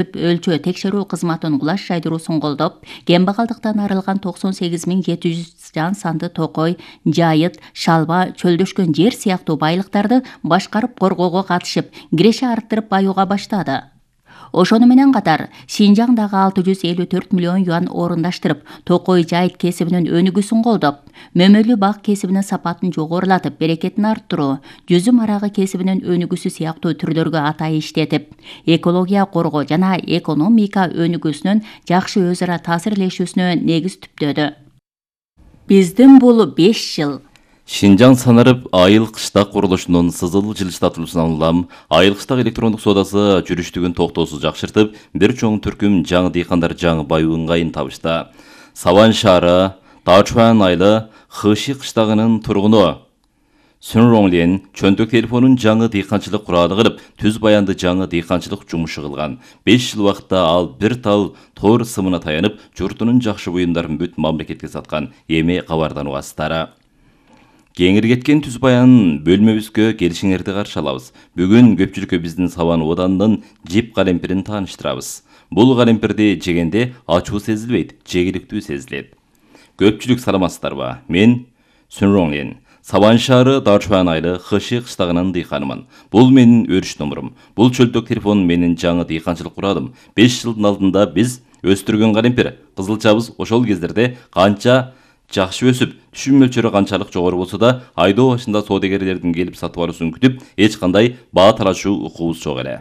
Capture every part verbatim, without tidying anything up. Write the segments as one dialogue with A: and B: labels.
A: өлчөө текшерүү кызматын кулаш жайдыруусун колдоп, кембагалдыктан арылган токсон сегиз миң жети жүз жан санды токой, жайыт, шалба, чөлдөшкөн жер сыяктуу байлыктарды башкарып коргоого катышып, киреше арттырып баюуга баштады. Ошону менен катар Синжаңдагы алты жүз элүү төрт миллион юан орундаштырып, токой жайыт кесибинин өнүгүүсүн колдоп, мөмөлүү бак кесибинин сапатын жогорулатып, берекетин арттыруу, жүзүм арагы кесибинин өнүгүүсү сыяктуу түрлөргө атай иштетип, экология коргоо жана экономика өнүгүүсүнүн жакшы өз ара таасирлешүүсүнө негиз түптөдү. Биздин бул беш жыл
B: Шинжаң санарып айыл кыштак курулушунун сызыл жылыштатылуусунан улам айыл кыштак электрондук соодасы жүрүштүгүн токтоосуз жакшыртып, бир чоң түркүм жаңы дыйкандар жаңы баюу ыңгайын табышты. Саван шаары, Дачуан айылы Хыши кыштагынын тургуну Сүнронлен чөнтөк телефонун жаңы дыйканчылык куралы кылып, түз баянды жаңы дыйканчылык жумушу кылган. беш жыл убакытта ал бир тал тоор сымына таянып, журтунун жакшы буюмдарын бүт мамлекетке саткан. Эми кабардан угасыздар. Кеңир кеткен түз баян бөлмөбүзгө келишиңерди каршы алабыз. Бүгүн көпчүлүккө биздин Саван оданынын жип калемпирин тааныштырабыз. Бул калемпирди жегенде ачуу сезилбейт, жегиликтүү сезилет. Көпчүлүк саламатсыздарбы? Мен Сүнронлен. Саван шаары Дачуан айылы Хыши кыштагынын дыйканымын. Бул менин өрүш номурум. Бул чөлтөк телефон менин жаңы дыйканчылык куралым. беш жылдын алдында биз өстүргөн калемпир. Кызылчабыз ошол кездерде канча жакшы өсүп, түшүм мөлчөрү канчалык жогору болсо да, айдоо башында соодагерлердин келип сатып алуусун күтүп, эч кандай баа талашуу укугубуз жок эле.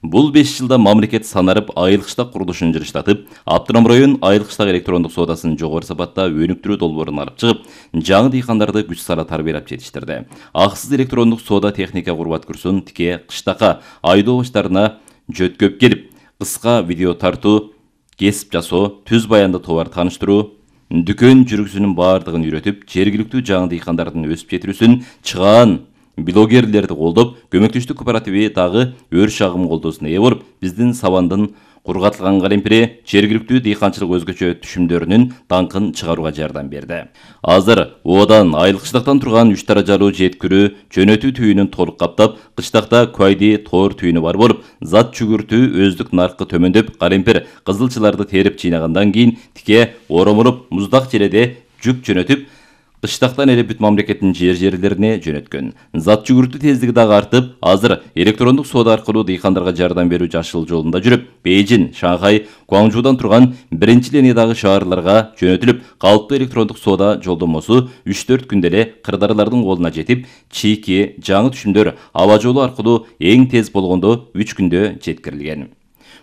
B: Бул беш жылда мамлекет санарып айыл кыштак курулушун жылыштатып, Аптырам район айыл кыштак электрондук соодасын жогору сапатта өнүктүрүү долбоорун алып чыгып, жаңы дыйкандарды күч сала тарбиялап жетиштирди. Аксыз электрондук соода техника курбат курсун тике кыштакка айдоо баштарына жөткөп келип, кыска видео тартуу, кесип жасоо, түз баянды товар тааныштыруу, дүкөн жүргүзүүнүн баардыгын үйрөтүп, жергиликтүү жаңы дыйкандардын өсүп жетирүүсүн чыгаан блогерлерди колдоп, көмөктөштүк кооперативи дагы өрүш агым колдоосуна ээ болуп, биздин Савандын кургатылган калемпири жергиликтүү дыйканчылык өзгөчө түшүмдөрүнүн даңкын чыгарууга жардам берди. Азыр оодан айыл кыштактан турган үч даражалуу жеткүрүү жөнөтүү түйүнүн толук каптап, кыштакта куайди тоор түйүнү бар болуп, зат жүгүртүү өздүк наркы төмөндөп, калемпир кызылчыларды терип жыйнагандан кийин тике оромолуп, муздак желеде жүк жөнөтүп, кыштактан эле бүт мамлекеттин жер-жерлерине жөнөткөн. Зат жүгүртүү тездиги дагы артып, азыр электрондук соода аркылуу дыйкандарга жардам берүү жашыл жолунда жүрүп, Бейжин, Шанхай, Гуаңжуудан турган биринчи линиядагы шаарларга жөнөтүлүп, калыптуу электрондук соода жолдомосу үч төрт күндө эле кырдаарлардын колуна жетип, чийки жаңы түшүмдөр аба жолу аркылуу эң тез болгондо үч күндө жеткирилген.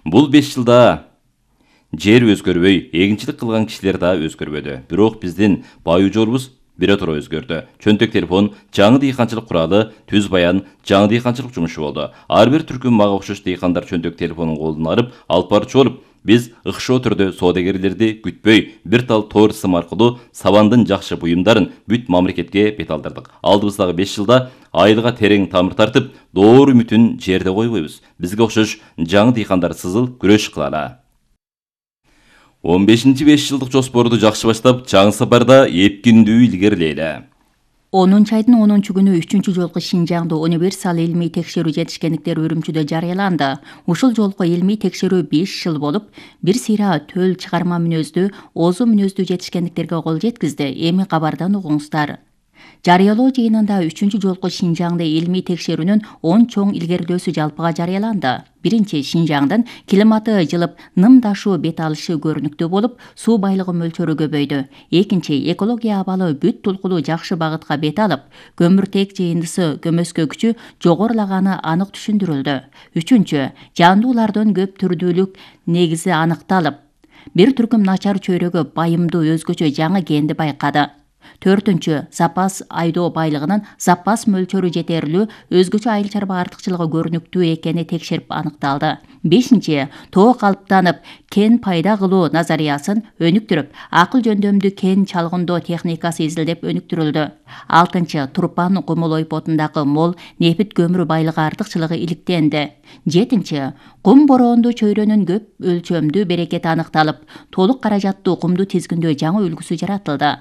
B: Бул беш жылда жер өзгөрбөй, эгинчилик кылган кишилер да өзгөрбөдү. Бирок биздин баюу жолубуз биротура өзгөрдү. Чөнтөк телефон, жаңы дыйканчылык куралы, түз баян, жаңы дыйканчылык жумушу болду. Ар бир түркүм мага окшош дыйкандар чөнтөк телефонун колуна алып, алып барчу болуп, биз ыкшоо түрдө соодагерлерди күтпөй, бир тал тоор сым аркылуу Савандын жакшы буюмдарын бүт мамлекетке бет алдырдык. Алдыбыздагы беш жылда айылга терең тамыр тартып, доор үмүтүн жерде койбойбуз. Бизге окшош жаңы дыйкандар сызыл күрөш кылалы. он бешинчи беш жылдык жоспорду жакшы баштап, жаңы сапарда эпкиндүү илгерилейли.
A: онунчу айдын онунчу күнү үчүнчү жолку Шинжаңда универсал илмий текшерүү жетишкендиктер Үрүмчүдө жарыяланды. Ушул жолку илмий текшерүү беш жыл болуп, бир сыйра төл чыгарма мүнөздүү, озу мүнөздүү жетишкендиктерге кол жеткизди. Эми кабардан угуңуздар. Жарыялоо жыйынында үчүнчү жолку Шинжаңда илмий текшерүүнүн он чоң илгерилөөсү жалпыга жарыяланды. Биринчи, Шинжаңдын климаты жылып, нымдашуу бет алышы көрүнүктүү болуп, суу байлыгы мөлчөрү көбөйдү. Экинчи, экология абалы бүт тулкулуу жакшы багытка бет алып, көмүртек жыйындысы көмөскө күчү жогорулаганы анык түшүндүрүлдү. Үчүнчү, жандуулардын көп түрдүүлүк негизи аныкталып, бир түркүм начар чөйрөгө байымдуу өзгөчө жаңы генди байкады. Төртүнчү, запас айдоо байлыгынын запас мөлчөрү жетерлүү, өзгөчө айыл чарба артыкчылыгы көрүнүктүү экени текшерип аныкталды. Бешинчи, тоо калыптанып, кен пайда кылуу назариясын өнүктүрүп, акыл жөндөмдүү кен чалгындоо техникасы изилдеп өнүктүрүлдү. Алтынчы, Турпан кумул ойпотундагы мол нефит көмүрү байлыгы артыкчылыгы иликтенди. Жетинчи, кум бороондуу чөйрөнүн көп өлчөмдүү берекети аныкталып, толук каражаттуу кумду тизгиндөө жаңы үлгүсү жаратылды.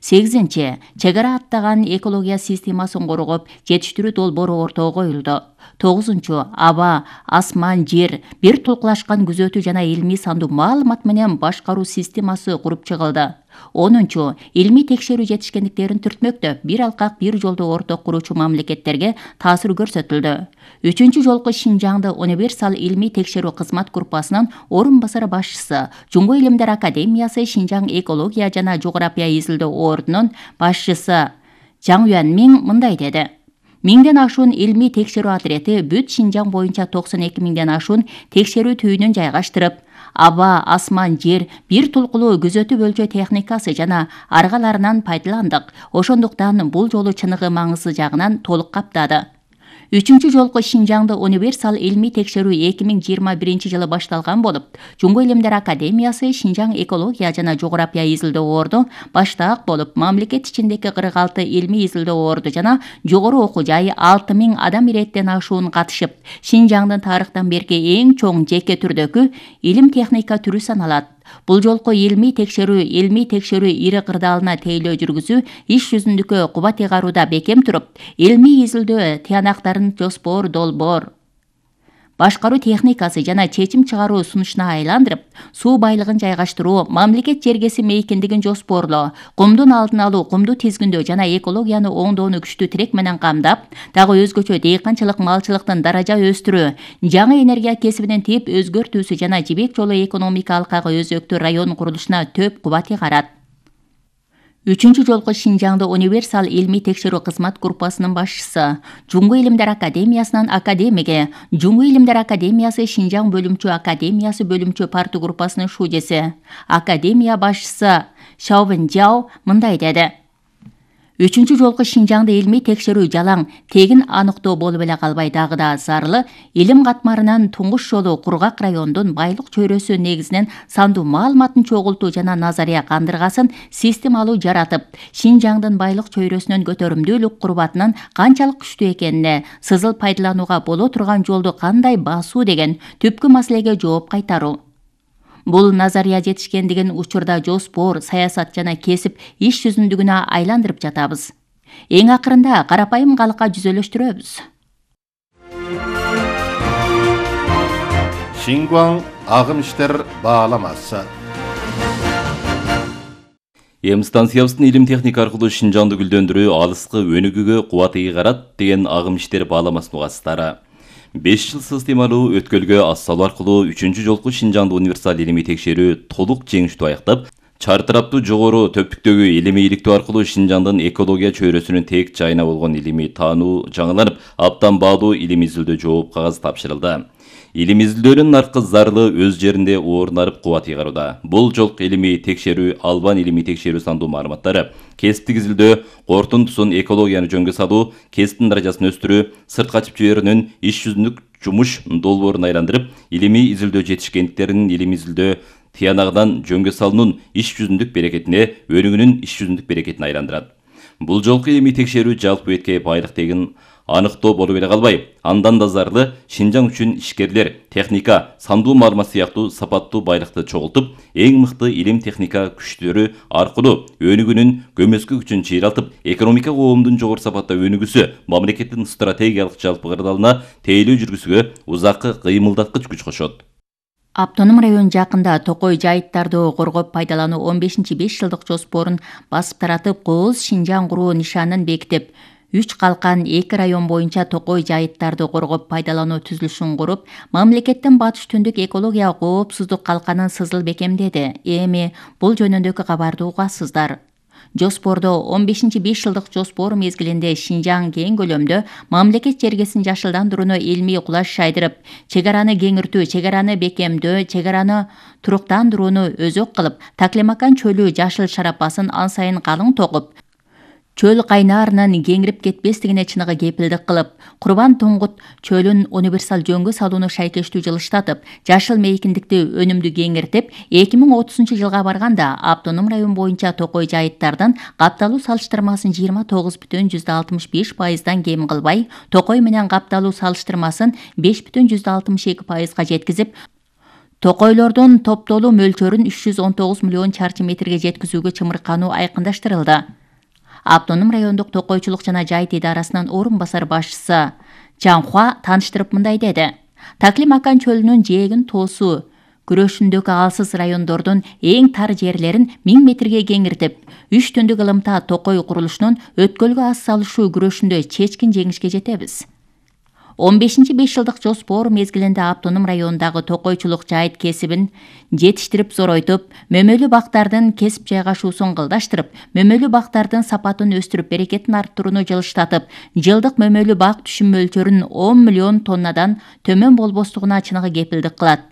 A: сегизинчи. Чек ара аттаган экология системасын коргоп, жетиштирүү долбоору ортого коюлду. тогузунчу. Аба, асман, жер, бир толкулашкан күзөтүү жана илмий сандуу маалымат менен башкаруу системасы куруп чыгылды. онунчу. Илмий текшерүү жетишкендиктерин түртмөктөп, бир алкак бир жолду орток куручу мамлекеттерге таасир көрсөтүлдү. Үчүнчү жолку Шинжаңды универсал илмий текшерүү кызмат группасынын орун басары башчысы, Жумгу илимдер академиясы Шинжаң экология жана жогорапия изилдөө ордунун башчысы Жаң Юанмиң мындай деди. Миңден ашуун илмий текшерүү отрети бүт Шинжаң боюнча токсон эки миңден ашуун текшерүү түйүнүн жайгаштырып, аба, асман, жер, бир толкулуу күзөтүү бөлчө техникасы жана аргаларынан пайдаландык. Ошондуктан бул жолу чыныгы маңызы жагынан толук каптады. Үчүнчү жолку Шинжаңды универсал илмий текшерүү эки миң жыйырма биринчи жылы башталган болуп, Жумгу илимдер академиясы Шинжаң экология жана жогорапия изилдөө орду баштаак болуп, мамлекет ичиндеги кырк алты илмий изилдөө орду жана жогору окуу жай алты миң адам иреттен ашуун катышып, Шинжаңдын тарыхтан берки эң чоң жеке түрдөгү илим техника түрү саналат. Бул жолку илмий текшерүү илмий текшерүү ири кырдаалына тейлөө жүргүзүү, иш жүзүндөгү кубат ыйгарууда бекем туруп, илмий изилдөө тыянактарын жоспор, долбоор, башкаруу техникасы жана чечим чыгаруу сунушуна айландырып, суу байлыгын жайгаштыруу, мамлекет жергеси мейкиндигин жоспорлоо, кумдун алдын алуу, кумду тизгиндөө жана экологияны оңдоону күчтүү тирек менен камдап, дагы өзгөчө дыйканчылык, малчылыктын даража өстүрүү, жаңы энергия кесибинин тип өзгөртүүсү жана Жибек жолу экономика алкагы өзөктүү район курулушуна төп кубат ыйгарат. Үчүнчү жолку Шинжаңды универсал илмий текшерүү кызмат группасынын башчысы, Жумгу илимдер академиясынын академиги, Жумгу илимдер академиясы Шинжаң бөлүмчө академиясы бөлүмчө парту группасынын шужеси, академия башчысы Шаовен Жао мындай деди. Үчүнчү жолку Шинжаңды илмий текшерүү жалаң, тегин аныктоо болуп эле калбай дагы да зарылы, илим катмарынан туңгуш жолу кургак райондун байлык чөйрөсү негизинен сандуу маалыматын чогултуу жана назария кандыргасын системалуу жаратып, Шинжаңдын байлык чөйрөсүнүн көтөрүмдүүлүк курбатынын канчалык күчтүү экенине, сызыл пайдаланууга боло турган жолду кандай басуу деген түпкү маселеге жооп кайтаруу. Бул назария жетишкендигин учурда жоспор, саясат жана кесип иш жүзүндүгүнө айландырып жатабыз. Эң акырында карапайым калкка жүзөлөштүрөбүз.
C: Шингуаң агым иштер бааламасы.
B: Эм станциябыздын илим техника аркылуу Шинжаңды гүлдөндүрүү, алыскы өнүгүүгө кубат ыйгарат деген агым иштер бааламасын угасыздары. беш жыл системалуу өткөлгө ас салуу аркылуу үчүнчү жолку Шинжаңды универсал илимий текшерүү толук жеңиштүү аяктап, чартыраптуу жогору төптүктөгү илимий иликтөө аркылуу Шинжаңдын экология чөйрөсүнүн тек жайына болгон илимий таануу жаңыланып, аптан баалуу илим изилдөө жооп кагаз тапшырылды. Илим изилдөөнүн наркы зарлы өз жеринде орун алып кубат ыйгарууда. Бул жолку илимий текшерүү албан илимий текшерүү сандуу маалыматтары, кесиптик изилдөө, кортунтусун экологияны жөнгө салуу, кесиптин даражасын өстүрүү, сырт качып жиберүүнүн иш жүзүндүк жумуш долбоорун айландырып, илимий изилдөө жетишкендиктеринин илим изилдөө тыянагынан жөнгө салуунун иш жүзүндүк берекетине, өнүгүүнүн иш жүзүндүк берекетине айландырат. Бул жолку илимий текшерүү жалпы бетке байлык тегин аныктоо болуп эле калбай, андан да зарлы Шинжаң үчүн ишкерлер, техника, сандуу маалымат сыяктуу сапаттуу байлыкты чогултуп, эң мыкты илим техника күчтөрү аркылуу өнүгүүнүн көмөскө күчүн чыйралтып, экономика коомдун жогору сапатта өнүгүүсү, мамлекеттин стратегиялык жалпы кырдаалына тейлөө жүргүзүүгө узакы кыймылдаткыч күч кошот.
A: Автоном район жакында Токой жайыттарды коргоп пайдалануу он бешинчи беш жылдык жоспорун басып таратып, Кооз Шинжаң куруу нишанын бекитип, үч калкан эки район боюнча Токой жайыттарды коргоп пайдалануу түзүлүшүн куруп, мамлекеттин батыш түндүк экология коопсуздук калканын сызыл бекемдеди. Эми бул жөнүндөгү кабарды угасыздар. Жоспордо он бешинчи беш жылдык жоспор мезгилинде Шинжаң кең көлөмдө мамлекет жергесин жашылдандырууну илмий кулаш шайдырып, чек араны кеңиртүү, чек араны бекемдөө, чек араны туруктандырууну өзөк кылып, Таклемакан чөлү жашыл шарапасын ан сайын калың тогуп, чөл кайнаарынын кеңирип кетпестигине чыныгы кепилдик кылып, Курбан Туңгут чөлүн универсал жөнгө салууну шайкештүү жылыштатып, жашыл мейкиндикти өнүмдүү кеңиртип, эки миң отузунчу жылга барганда автоном район боюнча Токой жайыттардын капталуу салыштырмасын жыйырма тогуз бүтүн жүздөн алтымыш беш пайыздан кем кылбай, Токой менен капталуу салыштырмасын беш бүтүн жүздөн алтымыш эки пайызга жеткизип, Токойлордун топтолуу мөлчөрүн үч жүз он тогуз миллион чарчы метрге жеткизүүгө чымыркануу айкындаштырылды. Автоном райондук токойчулук жана жайыт идарасынын орун басар башчысы Жанхуа тааныштырып мындай деди. Таклимакан чөлүнүн жээгин тоосу күрөшүндөгү алсыз райондордун эң тар жерлерин миң метрге кеңиртип, үч түндүк ылымта токой курулушунун өткөлгө аз салышуу күрөшүндө чечкин жеңишке жетебиз. он бешинчи беш жылдык жоспор мезгилинде автоном районундагы токойчулук жайыт кесибин жетиштирип зоройтуп, мөмөлүү бактардын кесип жайгашуусун кылдаштырып, мөмөлүү бактардын сапатын өстүрүп, берекетин арттырууну жылыштатып, жылдык мөмөлүү бак түшүм мөлчөрүн он миллион тоннадан төмөн болбостугуна чыныгы кепилдик кылат.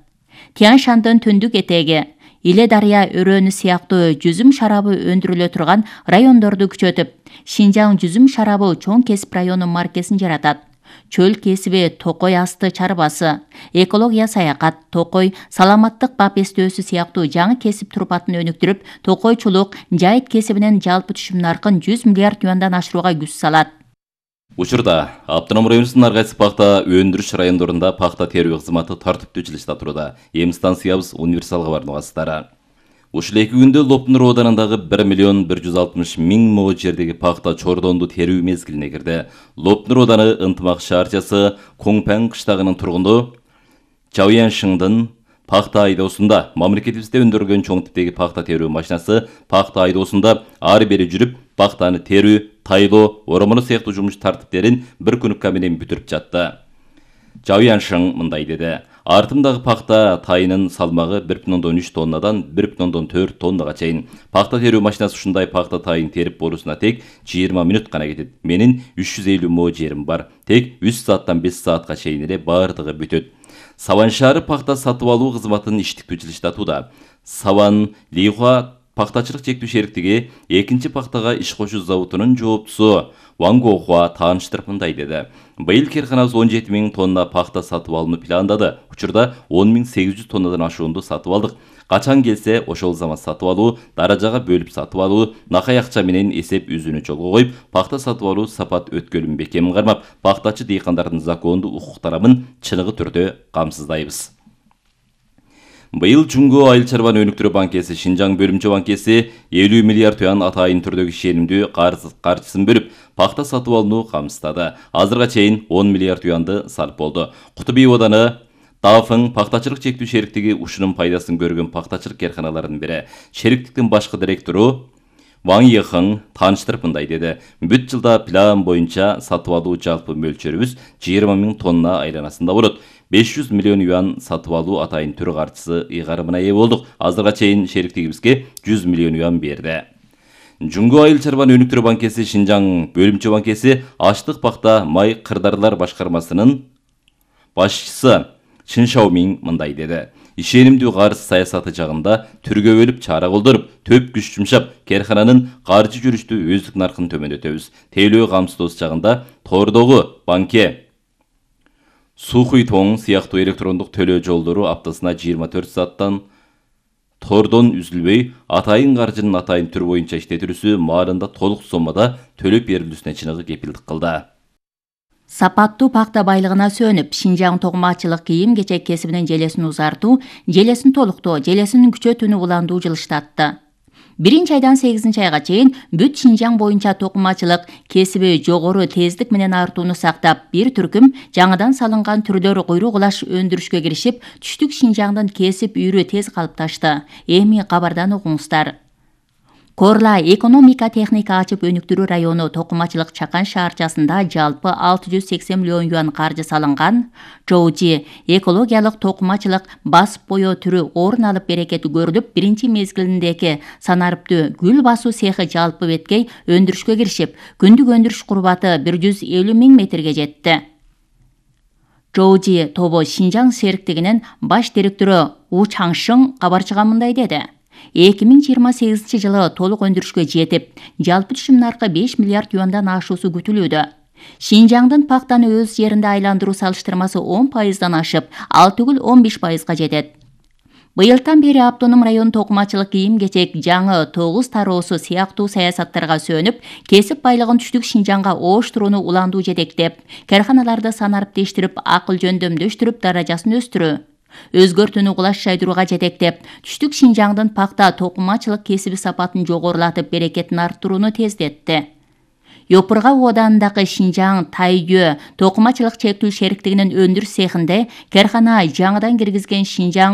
A: Тянь-Шандын түндүк этеги, Иле дарыя өрөөнү сыяктуу жүзүм шарабы өндүрүлө турган райондорду күчөтүп, Шинжаң жүзүм шарабы чоң кесип району маркесин жаратат. Чөл кесиби Токой асты чарбасы, экология саякат, Токой саламаттык бап эстөөсү сыяктуу жаңы кесип турпатын өнүктүрүп, токойчулук жайыт кесибинин жалпы түшүм наркын жүз миллиард юандан ашырууга күч салат.
B: Учурда автоном районунун ар кайсы пахта өндүрүш райондорунда пахта терүү кызматы тартиптүү жылышта туруда. Эми станциябыз универсалга баруугасыздары. Ушул эки күндө Лопнур оданындагы bir миллион bir жүз алтымыш миң мо жердеги пахта чордонду терүү мезгилине кирди. Лопнур оданы ынтымак шаарчасы Коңпен кыштагынын тургуну Жауяншыңдын пахта айдоосунда мамлекетибизде өндүрүлгөн чоң типтеги пахта терүү машинасы пахта айдоосунда ары бери жүрүп, пахтаны терүү, тайлоо, оромону сыяктуу жумуш тартиптерин бир күнүккө менен бүтүрүп жатты. Жауяншың мындай деди. Артымдагы пахта тайынын салмагы bir бүтүн ондон үч тоннадан bir бүтүн ондон төрт тоннага чейин. Пахта терүү машинасы ушундай пахта тайын терип болуусуна тек жыйырма мүнөт гана кетет. Менин үч жүз элүү мо жерим бар. Тек үч сааттан беш саатка чейин эле бардыгы бүтөт. Саван шаары пахта сатып алуу кызматын иштиктүү жылыштатууда. Саван Лихуа пахтачылык чектүү шериктиги экинчи пахтага иш кошуу заводунун жооптусу Ван Гохуа тааныштырып мындай деди. Быйыл керканабыз он жети миң тонна пахта сатып алууну пландады. Учурда он миң сегиз жүз тоннадан ашуунду сатып алдык. Качан келсе ошол замат сатып алуу, даражага бөлүп сатып алуу, накай акча менен эсеп үзүүнү жолго коюп, пахта сатып алуу сапат өткөлүн бекем кармап, пахтачы дыйкандардын закондуу укуктарын чыныгы түрдө камсыздайбыз. Быйыл Жуңго айыл чарбан өнүктүрүү банкеси Шинжаң бөлүмчө банкеси элүү миллиард юан атайын түрдөгү ишенимдүү каржысын бөлүп, пахта сатып алууну камсыздады. Азырга чейин он миллиард юанды сарп болду. Кутуби оданы Дафың пахтачылык чектүү шериктиги ушунун пайдасын көргөн пахтачылык керканаларынын бири. Шериктиктин башкы директору Ван Йехың тааныштырып мындай деди. Бүт жылда план боюнча сатып алуу жалпы мөлчөрүбүз жыйырма миң тонна айланасында болот. беш жүз миллион юан сатып алуу атайын түр каржысы ыйгарымына ээ болдук. Азырга чейин шериктигибизге жүз миллион юан берди. Жуңго айыл чарбан өнүктүрүү банкеси Шинжаң бөлүмчө банкеси аштык пахта май кырдарлар башкармасынын башчысы Чын Шаомиң мындай деди. Ишенимдүү карыз саясаты жагында түргө бөлүп чара колдоруп, төп күч жумшап, керкананын каржы жүрүштү өздүк наркын төмөндөтөбүз. Тейлөө камсыздоосу жагында тордогу банке Сухуй тоң сыяктуу электрондук төлөө жолдору аптасына жыйырма төрт сааттан тордон үзүлбөй, атайын каржынын атайын түр боюнча иштетилүүсү маарында толук соммада төлөп берилүүсүнө чыныгы кепилдик кылды.
A: Сапаттуу пахта байлыгына сөнүп, Шинжаң токмачылык кийим-кечек кесибинин желесин узартуу, желесин толуктоо, желесин күчөтүүнү уландуу жылыштатты. Биринчи айдан сегизинчи айга чейин бүт Шинжаң боюнча токумачылык кесиби жогору тездик менен артууну сактап, бир түркүм жаңыдан салынган түрлөр куйрук улаш өндүрүшкө киришип, түштүк Шинжаңдын кесип үйрү тез калыпташты. Эми кабардан угуңуздар. Корла экономика техника ачып өнүктүрүү району токумачылык Чакан шаарчасында жалпы алты жүз сексен миллион юан каржы салынган. Жоужи экологиялык токумачылык басып боё түрү орун алып берекети көрүлүп, биринчи мезгилиндеги санарыптуу гүл басуу цехи жалпы беткей өндүрүшкө киришип, күндүк өндүрүш курбаты бир жүз элүү миң метрге жетти. Жоужи тобу Шинжаң шериктигинин баш директору У Чаңшың кабарчыга мындай деди. эки миң жыйырма сегизинчи жылы толук өндүрүшкө жетип, жалпы түшүм наркы беш миллиард юандан ашуусу күтүлүүдө. Шинжаңдын пахтаны өз жеринде айландыруу салыштырмасы он пайыздан ашып, ал түгүл он беш пайызга жетет. Быйылдан бери автоном район токумачылык кийим-кечек жаңы тогуз тароосу сыяктуу саясаттарга сөнүп, кесип байлыгын түштүк Шинжаңга ооштурууну уландуу жетектеп, карханаларды санарыптештирип, акыл жөндөмдөштүрүп, даражасын өстүрүү. өзгөртүүнү кулаш жайдырууга жетектеп, түштүк Шинжаңдын пакта токумачылык кесиби сапатын жогорулатып, берекетин арттырууну тездетти. Йопурга оодандагы Шинжаң Тайгө токумачылык чектүү шериктигинин өндүрүш цехинде каркана жаңыдан киргизген Шинжаң